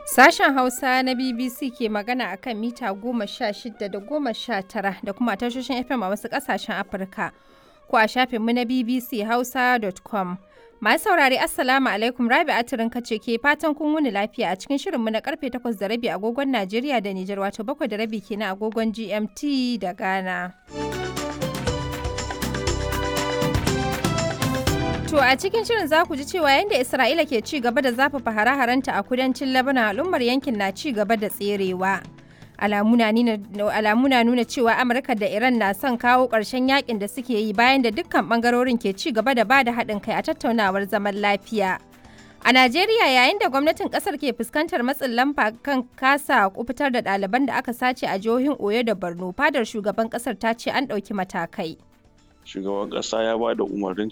Sashen Hausa na BBC ke magana a kan mita 16 da 19 da kuma tashoshin FM a wasu ƙasashen Afirka ko a shafinmu na bbchausa.com. Masu saurare, Assalamu alaikum, Rabi Atirin kace ke fatan kun wuni lafiya a cikin shirinmu na karfe 8:30 agogon Najeriya da Nijar, wato 7:30 kenan agogon GMT da Ghana. To a cikin shirin za ku ji cewa yadda Isra'ila ke ci gaba da zafafa hare-harenta a kudancin Lebanon, al'ummar yankin na ci gaba da tserewa. Alamu na nuna cewa Amurka da Iran na son kawo ƙarshen yakin da suke yi bayan da dukkan ɓangarorin ke ci gaba da bada haɗin kai a tattaunawar zaman lafiya. A Najeriya, yayin da gwamnatin ƙasar ke fuskantar matsin lamba kan kasa kufitar da ɗaliban da aka sace a jihohin Oyo da Borno, fadar shugaban ƙasar ta ce an ɗauki matakai. Shugaban ƙasa ya ba da umarnin